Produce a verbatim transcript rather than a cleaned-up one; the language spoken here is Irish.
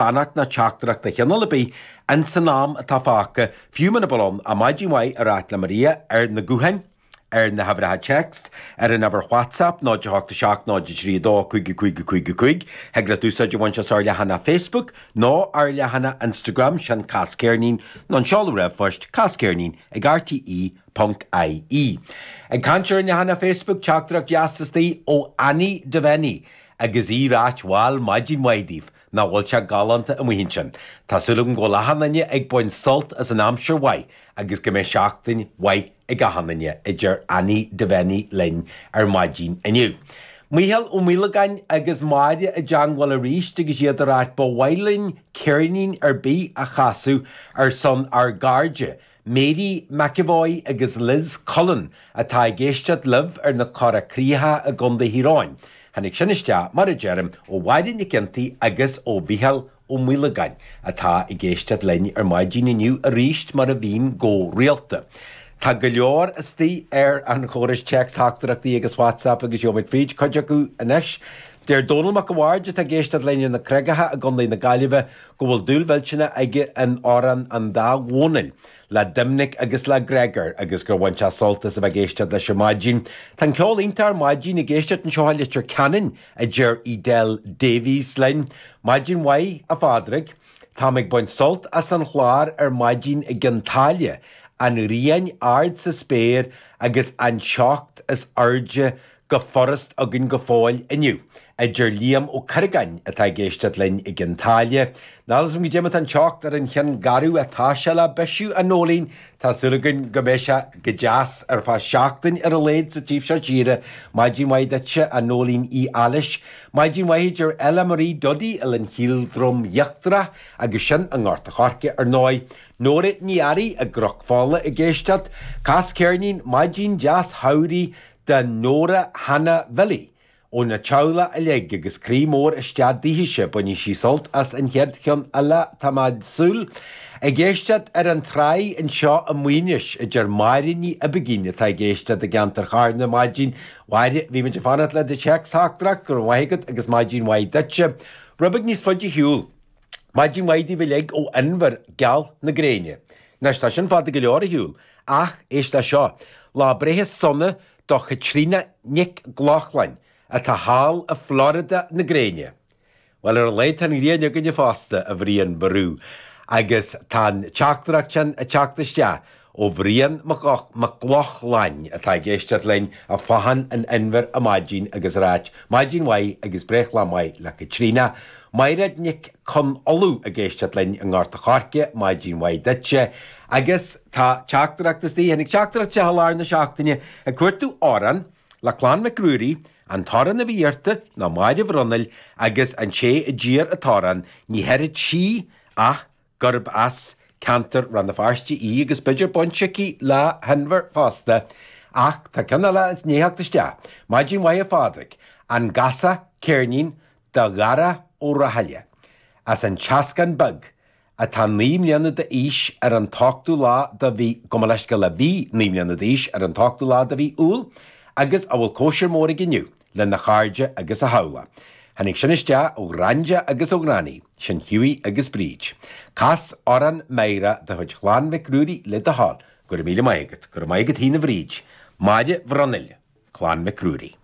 Beannacht ná teachtaireacht de chineál ar bith ins an am atá fágtha, fiú muna bhfuil ann ach maidin mhaith a ráit le Maria ar na gutháin, ar na huimhreacha text, ar an uimhir WhatsApp, náid a hocht a seacht náid a trí a dó cúig a cúig a cúig a cúig. Thig leat úsáid a bhaint as ár leathanach Facebook nó ár leathanach Instagram, sin Cas Ceirnín, nó an seoladh ríomhphoist, casceirnín ag R T E ponc I E. Ag caint ar an leathanach Facebook, teachtaireacht dheas istigh ó Annie Devaney agus í ag ráit, bhal, maidin mhaith daoibh, nach bhfuil sé galánta amuigh ansin. Tá súil agam go bhfuil achan duine ag baint sult as an aimsir mhaith agus go mbeidh seachtain mhaith ag achan duine, a deir Annie Devaney linn ar maidin inniu. Mícheál Ó Maolagáin agus Máire i dteangmháil arís agus iad ag ráit ba mhaith linn ceirnín ar bith a chasadh ar son ár gcairde, Mary McEvoy agus Liz Cullen atá ag éisteacht libh ar na Cora Críocha i gContae Thír Eoghain. Tháinig sin isteach, mar a deirim, ó Mháire Nic Ginty agus ó Mhícheál Ó Maolagáin, atá ag éisteacht linn ar maidin inniu arís mar a bhíonn go rialta. Tá go leor istigh ar an chóras téacs-theachtaireachtaí agus WhatsApp agus gheobhaimid fríd cuid acu anois. Deir Dónal Mac a' Bhaird atá ag éisteacht linn ar na Creagacha i gContae na Gaillimhe go bhfuil dúil mhillteanach aige in amhrán an dá Dhónaill, le Doimnic agus le Gregor agus gur bhain sé sult as a bheith ag éisteacht leis ar maidin. Tá an ceol iontach ar maidin ag éisteacht anseo i Leitir Ceanainn, a deir Edel Davies linn. Maidin mhaith, a Phádraig. Táim ag baint sult as an chlár ar maidin i gCionn tSáile, an ghrian ard sa spéir agus an teocht is airde go furast againn go fóill inniu, a deir Liam Ó Curragáin atá ag éisteacht linn i gCionn tSáile. Níl 'fhios a'm goidé mar atá an teocht ar an Cheann Garbh atá sé le bisiú a Nóilín, tá súil againn go mbeidh sé go deas ar feadh seachtain ar a laghad sa taobh seo tíre. Maidin mhaith duitse, a Nóilín Uí Ailís. Maidin mhaith a deir Ella Marie Duddy i Linn Shíl Drom Íochtarach agus sin i nGort a' Choirce ar ndóigh. Nóra Ní Fhearraigh i gCnoc Fola ag éisteacht. Cas ceirnín maidin deas shamhraidh do Nóra Hanna Bhilly óna teaghlach uilig agus croí mór isteach daoithese, bainfidh sí sult as an chéad cheann eile, tá mé ag súil. Ag éisteacht ar an tráigh anseo i Maínis, a deir Máire Ní Oibigín atá ag éisteacht i gceantar Charna ar maidin. Mháire, bhí muid ag fanacht le do théacs-theachtaireacht, go raibh maith agat agus maidin mhaith duitse. Rud beag níos faide ar shiúl. Maidin mhaith daoibh uilig ó Inbhear geal na gréine. Anois tá sin fada go leor ar shiúl, ach éist le seo, lá breithe sona do Chaitríona Nic Lochlainn atá thall i Florida na gréine. Bhuel ar a laghad tá an ghrian againne fosta, a Bhriain Bharú, agus tá an teachtaireacht sin ag teacht isteach ó Bhrian Mac Lochlainn atá ag éisteacht linn i bhFathán an Inbhir ar maidin agus ag ráit maidin mhaith agus breithlá maith le Caitríona. Mairéad Nic Con Uladh ag éisteacht linn i nGort a' Choirce, maidin mhaith duitse. Agus tá teachtaireacht istigh, tháinig teachtaireacht isteach i lár na seachtaine ag cuartú amhrán le Clann Mhic Ruairí, an t-amhrán a bhí iarrta ná Máire Bhronaill agus an té a d'iarr an t-amhrán, ní dhéarfadh sí ach gurb as ceantar Rann na Feirste í agus b'fhéidir baint aici le hInbhear fosta. Ach tá ceann eile i ndiaidh theacht isteach. Maidin mhaith a Phádraig, an gcasfá ceirnín do Dhara Ó Rathaille as an Teascán Beag atá naoi mbliana d'aois ar an t-ochtú lá de mhí, gabh mo leithscéal, a bhí naoi mbliana d'aois ar an t-ochtú lá de mhí Iúil agus a bhfuil cóisir mór aige inniu lena chairde agus a theaghlach. Tháinig sin isteach ó Ghrainde agus ó Ghranny, sin Hughie agus Bríd. Cas amhrán Máire de chuid Chlann Mhic Ruairí le do thoil. Go raibh míle maith agat. Go raibh maith agat féin a Bhríd. Máire Bhronaill, Clann Mhic Ruairí.